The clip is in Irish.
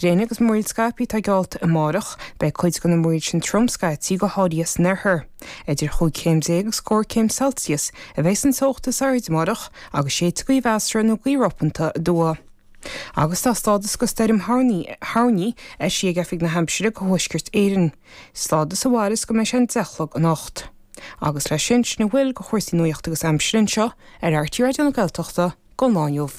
Gréine agus múraíl scaipthe atá geallta amárach. Beidh cuid de na múraíl sin trom scaití, go háirithe san oirthear. Idir chúig chéim déag agus scór céim Celsius a bheidh san teocht is airde amárach agus séidfidh gaoth mheasartha nó gaoth ropanta aduaidh. Agus tá stádas de stoirm thoirní eisithe ag Oifig na hAimsire do Thuaisceart Éireann, stádas a mhairfeas go mbeidh sé an 10 a chlog anocht. Agus leis sin, sin a bhfuil de chúrsaí nuachta agus aimsire anseo ar RTÉ Raidió na Gaeltachta don lá inniu.